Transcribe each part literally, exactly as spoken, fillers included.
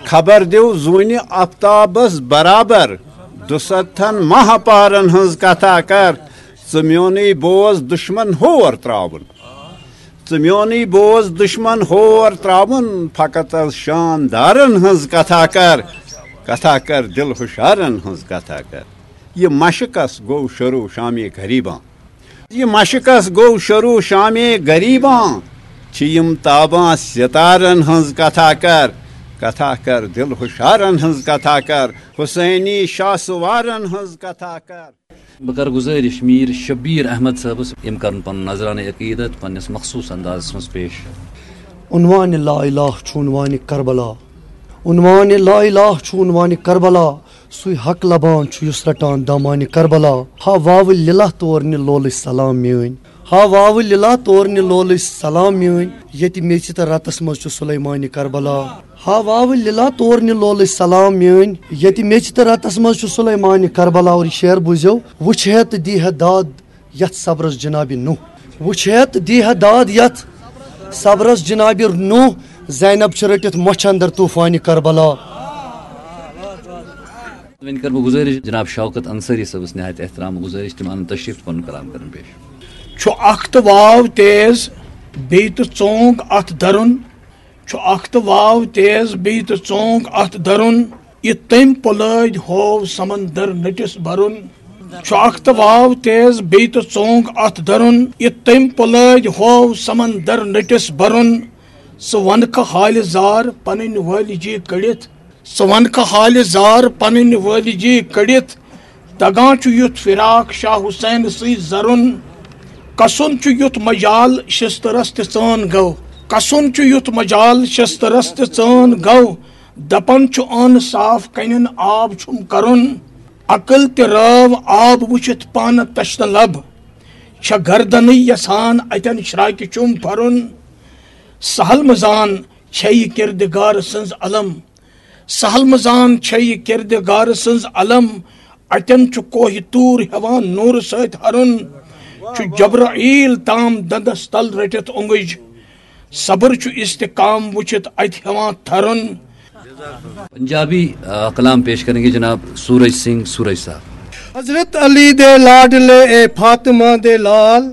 خبر دیو زوٗنہِ آفتابس برابر، دُستتھن ماہ پارن ہٕنٛز کتھا کر۔ ژٕ میونُے بوز دُشمن ہور تراوُن۔ ژٕ میونُے بوز دُشمن ہور تراوُن، فقط از شاندارن ہٕنٛز کتھا کر۔ کتھا کر دل ہُشارن ہٕنٛز کتھا کر۔ یہِ مشقس گوٚو شروع شامِ غریباں۔ یہِ مشقس گوٚو شروع شامِ غریباں۔ چھِ یِم تاباں ستارن ہٕنٛز کتھا کر۔ کتھا کر دل ہُشارن ہٕنٛز کتھا کر۔ حسینی شاہ سوارن ہٕنٛز کتھا کر۔ بہٕ کرٕ گُزٲرِش میٖر شبیٖر احمد صٲبس، یِم کرن پنُن نذرانہ عقیدت پننِس مخصوٗص اندازس منٛز پیش۔ عنوان لا الہ چھُ عنوان کربلا۔ عنوان لا الہ چھُ عنوان کربلا۔ سُے حق لبان چھُ یُس رٹان دامان کربلا۔ ہا واوٕ لِلہ تور نہِ لولٕچ سلام میٲنۍ۔ ہا واوٕ لِلہ تور نہِ لولٕچ سلام میٲنۍ۔ ییٚتہِ میٚژِ تہٕ رتس منٛز چھُ سلیمان کربلا۔ ہا واوٕ لِلہ تور نہِ لولٕچ سلام میٲنۍ۔ ییٚتہِ میٚژِ تہٕ رتس منٛز چھُ سلیمان کربلا۔ اور یہِ شعر بوٗزِو۔ وٕچھ ہے تہٕ دی ہے داد یتھ صبرس جناب نوح۔ وٕچھ ہے تہٕ دی ہے داد یتھ صبرس جناب نوح۔ زینب چھِ رٔٹِتھ مۄچھِ اندر طوفان کربلا۔ وۄنۍ کرٕ بہٕ گُزٲرِش جناب شوکت انصاری صٲبس نہایت احترام گُزٲرِش، تِم انن تشریف تہٕ پنُن کلام کرن پیش۔ چھُ اکھ تہٕ واو تیز، بیٚیہِ تہٕ ژونگ اتھ درُن۔ چھُ اکھ تہٕ واو تیز، بیٚیہِ تہٕ ژونگ اتھ درُن۔ یہِ تٔمۍ پۄلٲدۍ ہوو سمندر نٔٹِس برُن۔ چھُ اکھ تہٕ واو تیز، بیٚیہِ تہٕ ژونگ اتھ درُن۔ یہِ تٔمۍ پۄلٲدۍ ہوو سمندر نٔٹِس برُن۔ ژٕ ونکھٕ حالہِ زار پنٕنۍ وٲلجی کٔڑِتھ۔ ژٕ ونکھٕ حالہِ زار پنٕنۍ وٲلجی کٔڑِتھ۔ دگان چھُ یُتھ فراق شاہ حسین سٕے زرُن۔ کسُن چھُ یُتھ مجال شسترس تہِ ژٲن گٔو۔ کسُن چھُ یُتھ مجال شسترس تہِ ژٲن گٔو۔ دپان چھُ انصاف کنٮ۪ن آب چھُم کرُن۔ عقل تہِ رٲو آب وٕچھِتھ پانہٕ تشنہٕ لب۔ چھےٚ گردنٕے یژھان اتٮ۪ن شراکہِ چُم پھرُن۔ سہل مزان چھے یہِ کردگار سٕنز علم۔ سہل مزان چھے یہِ کردگار سٕنز علم۔ اتٮ۪ن چھُ کوہ طور ہٮ۪وان نورٕ سۭتۍ ہرُن۔ چھُ جبرائیل تام دندس تل رٔٹِتھ اونگج۔ صبر چھُ استقام وٕچھِتھ اتہِ ہٮ۪وان تھرُن۔ پنجابی آ، کلام پیش کریں گے جناب سورج سنگھ سورج صاحب۔ حضرت علی دے لاڈلے اے فاطمہ دے لال،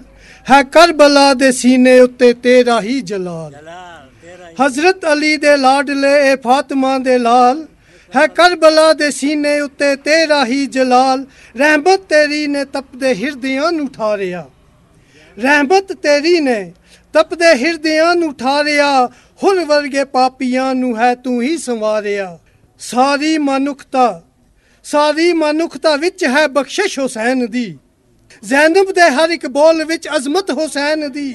ہے کربلا دے سینے اتے تیرا ہی جلال۔ حضرت علی دے لاڈلے اے فاطمہ دے لال، ہے کربلا دے سینے اتے تیرا ہی جلال۔ رحمت تیری نے تپدے ہردیاں نوں ٹھاریا۔ رحمت تیری نے تپدے ہردیاں نوں ٹھاریا۔ ہر ورگے پاپیاں نوں ہے توں ہی سنواریا۔ ساری منکھتا، ساری منکھتا وچ ہے بخشش حسین دی۔ زینب دے ہر اک بول وچ عظمت حسین دی۔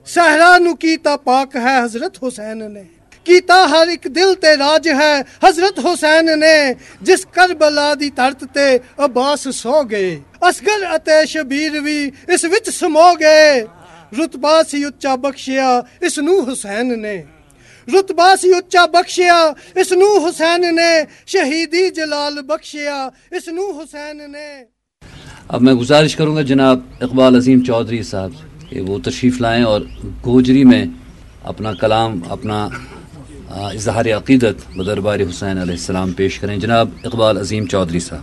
صحرا نوں کیتا پاک ہے حضرت حسین نے۔ کیتا ہر اک دل تے راج ہے حضرت حسین نے۔ جس کربلا دی دھرت تے عباس سو گئے، اصغر اتے شبیر وی اس وچ سمو گئے۔ رتبہ سی اچا بخشیا اس نوں حسین نے۔ رتبہ سی اچا بخشیا اس نوں حسین نے۔ شہیدی جلال بخشیا اس نوں حسین نے۔ اب میں گزارش کروں گا جناب اقبال عظیم چودھری صاحب کہ وہ تشریف لائیں اور گوجری میں اپنا کلام، اپنا آ، اظہار عقیدت بدربار حسین علیہ السلام پیش کریں۔ جناب اقبال عظیم چودھری صاحب۔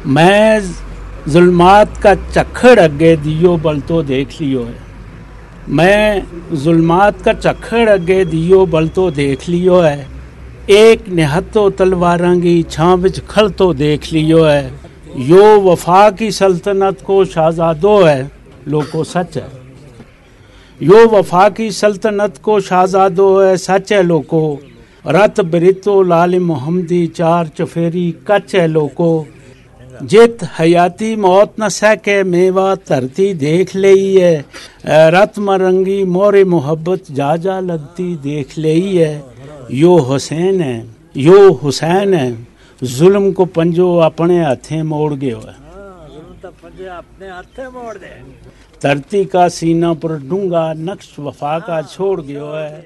میں ظلمات کا چکھڑ اگے دیو بل تو دیکھ لیو ہے۔ میں ظلمات کا چکھڑ اگے دیو بل تو دیکھ لیو ہے۔ ایک نہتو تلواراں کی چھاں وچ کھڑ تو دیکھ لیو ہے۔ یو وفا کی سلطنت کو شاہزادو ہے، لوکو سچ ہے۔ یو وفا کی سلطنت کو شاہزادو ہے، سچ ہے لوکو۔ رت برتو لال محمدی چار چفیری کچ ہے لوکو۔ جت حیاتی موت نہ سہ کے میوا دھرتی دیکھ لئی ہے۔ اے رت مرنگی مور محبت جا جا لگتی دیکھ لئی ہے۔ یو حسین ہے، یو حسین ہے۔ ظلم کو پنجو اپنے ہتھیں موڑ گیو ہے۔ ہاں، ظلم تو پنجے اپنے ہتھیں موڑ دے۔ دھرتی کا سینہ پر ڈونگا نقش وفا کا چھوڑ گیو ہے۔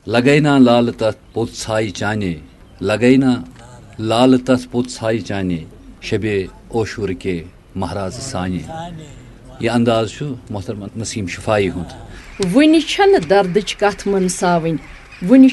لگے نا لال تتھ پوت سائی چانے، لگے نا لال تتھ پوت سائی چانے، شبے اوشور کے مہراز سانے۔ یہ انداز چھُ محترم نسیم شفاعی ہُنٛد۔ وُنہِ چھنہٕ دردٕچ کتھ منساوٕنۍ، وُنہِ